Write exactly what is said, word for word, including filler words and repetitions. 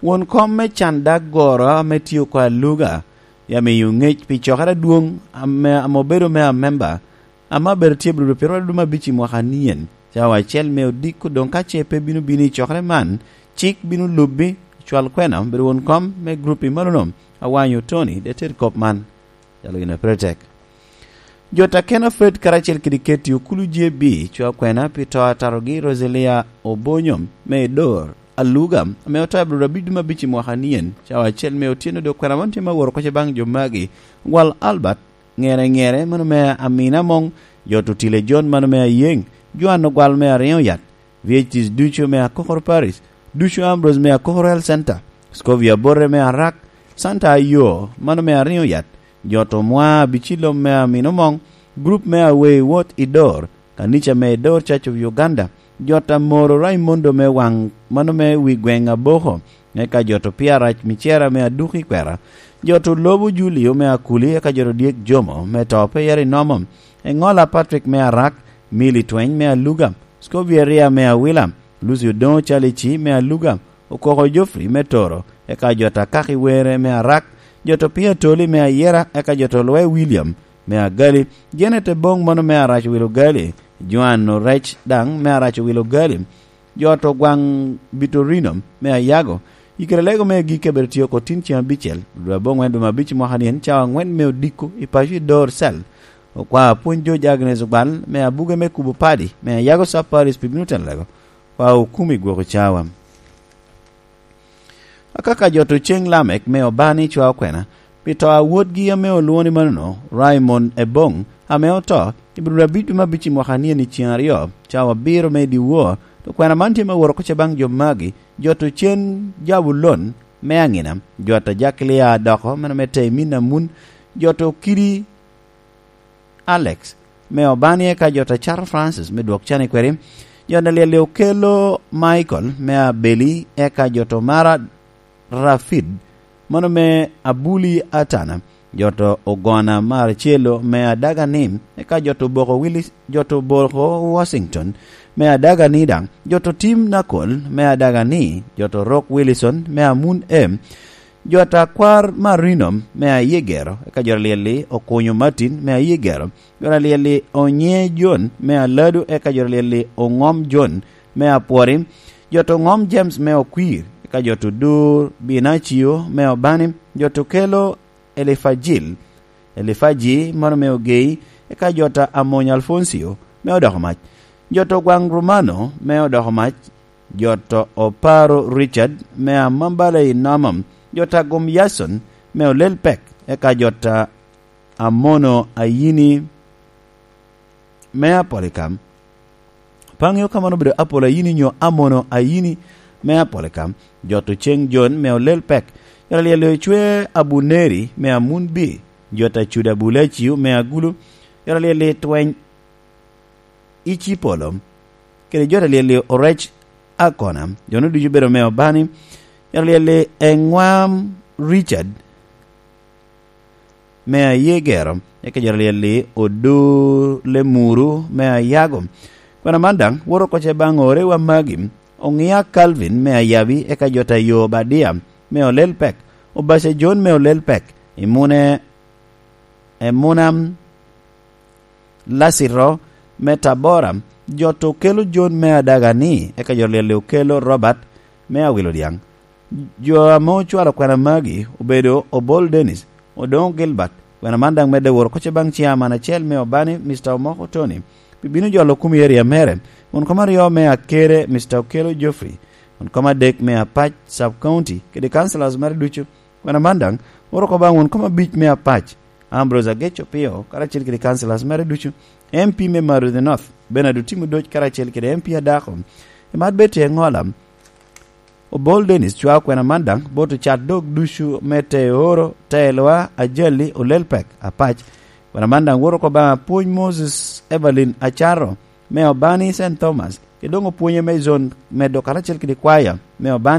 Won kom me can dag goro ame tye oko aluga, ya miyo ŋec pi cokere adwoŋ ame, ame obedo me amemba, ame abedo tye bludo piro aduma abic i mwaka anien, cawa acel me odiko. Doŋ ka ce pe bino bino i cokere man, cik bino lubbi, cwal kwena obedo won kom me grup i manono, awanyo Tony de ted kop man. Calo gin a pire tek. Jo Takena Fred karacel kede Keti Okulu J B cwa kwena pi to a tarogi Roselia Obonyo me Dor Aluga, ame oto abiro abiduma bici mwaka nien, cawa acel me otyeno dok kwena man tye ma woro koce baŋ jo magi, gwal Albert, ŋere ŋere mano me Amina Mong, jo Tutile John mano me Ayeŋ, Joan Ogwal me Ariŋo Yat, V H Ts ducu me Akokoro Paris, ducu Ambrose me Akokoro Health Center, Scovia Borre me Arak, Santa Ayo, mano me Ariŋo Yat, Joto Mwa Abicilom me Amino Moŋ, grup me Awei Wot i Dor, kanica me Dor Church of Uganda, Jota Moro Raimondo me Waŋ, mano me wi gweŋ Aboko, eka Joto Piarac Micera me Aduki Kwera, Joto Lobo Julio me Akuli, eka Joto Dyek Jomo me To Pe Yeri Nomo, Eŋola Patrick me Arak, Mili Tweny me Aluga, Scovia Ria me Awila, Lucio Doŋo Calici me Aluga, Okoko Jofri me Toro, eka Joto Akaki Were me Arak, Joto Pia Toli me Ayera, eka Joto Lwe William me Agali, Janet Eboŋ mano me Arac Wilo Gali, Joan Orec daŋ me Arac Wilo Gali, Joto Gwaŋ Bitorino me Ayago, Ikere Lego me Agikki abedo tye oko tin ceŋ abicel, dwe aboŋwen dwe me abic mwaka ni en cawa aŋwen me odiko i paco i Dor Cell. Okwa Apwony George Agnes Ogwal me Abuge me Kubo Padi me Ayago Sub Parish pi bino telo lego, kwa okumi gwoko cawa. Akaka Joto Ceŋ Lamek me Obani cwa okwena pi to a wotgi ame olwoŋo ni manono, Raymond Eboŋ, ame oto i bur abic dwe me abic i mwaka ni en i ceŋ aryo, cawa abiro me dyewor, to kwena man tye me woro koce baŋ jo magi, Joto Cen Jabulon me Aŋina, Joto Ajaklia Adoko, mano me Temin Amun, Joto Kidi Alex me Obani, eka Joto Acato Francis me Dwok Can i Kweri, Joto Alyel Okelo Michael me Abeli, eka Joto Mara Rafid, mano me Abuli Atana, Joto Ogona Marcelo me Adagani, eka Joto Boko Willis, Joto Boko Washington me Adagani daŋ, Joto Tim Nakol me Adagani, Joto Rok Wilson me Amun M, Joto Akwar Marino me Ayegero, eka Joto Alyel-li Okunyo Martin me Ayegero, Joto Alyel-li Onye John me Alado, eka Joto Alyel-li Oŋom John me Apwori, Joto Oŋom James me Okwir, eka Joto Dur Binacio me Obani, Joto Kelo Elifajil, Elifaji mano me Ogei, eka Joto Amony Alfoncio me Odoko Mac, Joto Gwaŋ Romano me Odoko Mac, Joto Oparo Richard me Amambala i Namam, Joto Agum Yason me Olel Pek, eka Joto Amono Ayini me Apolikam. Pe aŋeo ka mano obedo Apolo Ayini nyo Amono Ayini me Apolikam, Joto Ceŋ Jon me Olel Pek, Joto Alyel Ocwe Abuneri me Amun Bi, Joto Acuda Bulaciu me Agulu, Joto Alyel Tweny Icipolo, kede Joto Alyel Orec Akona, jo-nu ducu obedo me Obani, Joto Alyel Eŋwam Richard, me Ayegero, eka Joto Alyel-li Odo Lemuru me Ayago. Kwena man daŋ woto oko ce baŋ orewa magi, Oŋia Calvin me Ayabi, eka Joto Ayo Obadia me Olel Pek, Obace John me Olel Pek, Imune, Emunam Lacito me Tabora, Joto Okelo John me Adagani, eka Joto Alyel-li Okelo Robert me Awilo Dyaŋ. Jo ame ocwalo kwena magi obedo Obol Dennis, Odoŋo Gilbert, kwena man daŋ medde woro koce baŋ ciaman acel me Obani, Mister Omoko Tony, pi bino jolo kum i eria mere, won kom aryo me Akere, Mister Okelo Geoffrey, won kom adek me Apac Sub County, kede councillors mere ducu. Kwena man daŋ woro oko baŋ won kom abic me Apac, Ambrose Ageco Pio, karacel kede councillors mere ducu, M P me Marudi North, Bernard Otim Odoc, karacel kede M P Adako, Emad Betty Eŋola, Obol Dennis cwao kwena man daŋ bot ocat dog ducu me Teoro, Telwa, Ajali, Olelpek, Apac. Kwena man daŋ woto oko baŋ Apwony Moses Evelyn Acaro, me Obani Saint Thomas, kede doŋ opwonye me zon medo karacel kede kwaya me Obani